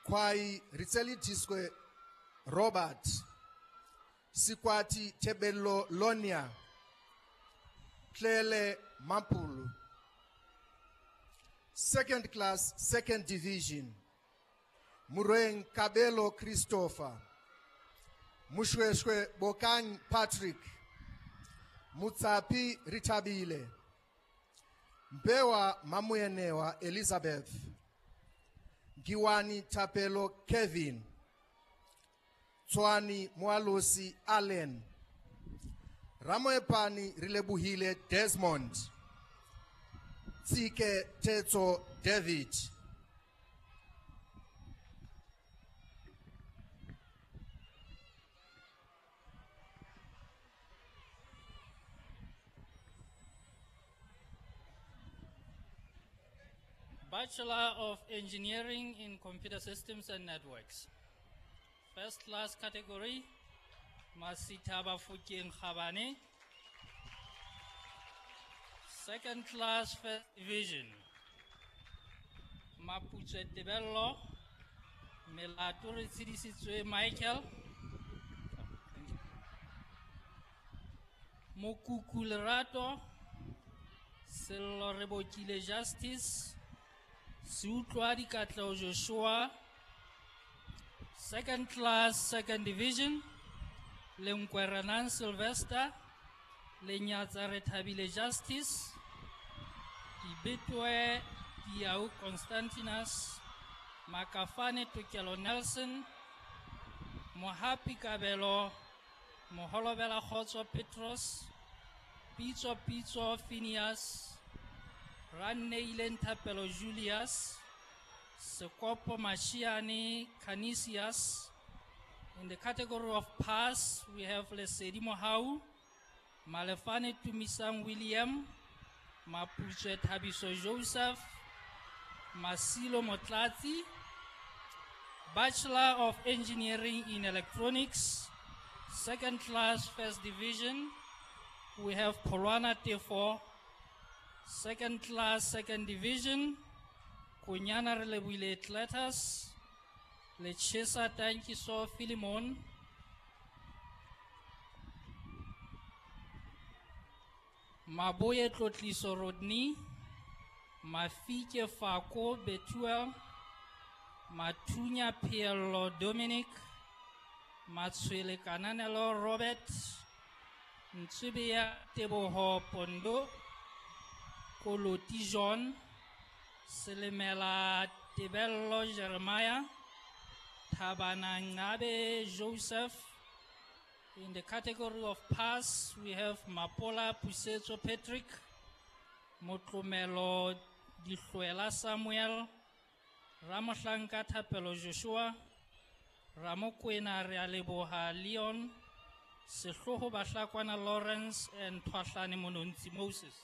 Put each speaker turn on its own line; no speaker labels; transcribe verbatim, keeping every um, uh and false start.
Kwai Ritselidiswe Robert, Sikwati Tebello Lonia, Tlele Mampulu. Second class, second division, Mureng Kabelo Christopher, Mushweshwe Bokang Patrick, Mutsapi Ritabile, Mbewa Mamuenewa Elizabeth, Giwani Tapelo Kevin, Tswani Mwalosi Allen, Ramoepani Rilebuhile Desmond, Tsike Tetso David.
Bachelor of Engineering in Computer Systems and Networks. First class category, Masitaba Fukeng Khabane. Second class, first division, Mapuche Tebello, Melato Retshidisitswe Michael, Mokuku Lerato, Sello Rebokile Justice, Seutlwa Dikatleho Joshua. Second class, second division, Lenkwerenan Sylvester, Lenyatsa Rethabile Justice, Dibetwe Diau Constantinus, Makafane Tokelo Nelson, Mohapi Kabelo, Moholobela Khotso Petros, Pitso Pitso Phineas, Ranneile Thapelo Julius, Sekopo Mashiane Canisius. In the category of pass, we have Lesedi Mohau, Malefane Tumisang William, Mapuche Thabiso Joseph, Masilo Motlatsi. Bachelor of Engineering in Electronics, second class, first division, we have Polwana Tefo. Second class, second division, Kunyana Relebile Cletus, Lechesa Tankiso Philemon, Maboye Tlotliso Rodney, Mafike Fako Betuel, Matunya Pielo Dominic, Matswele Kananelo Robert, Ntsubia Teboho Pondo, Koloti John, Selemela Tebello Jeremiah, Thabana Ngabe Joseph. In the category of pass, we have Mapola Pusetso Patrick, Motlomelo Dihluela Samuel, Ramohlanka Thapelo Joshua, Ramokwena Realeboha Leon, Sehloho Bahlakwana Lawrence, and Thwahlane Monontsi Moses.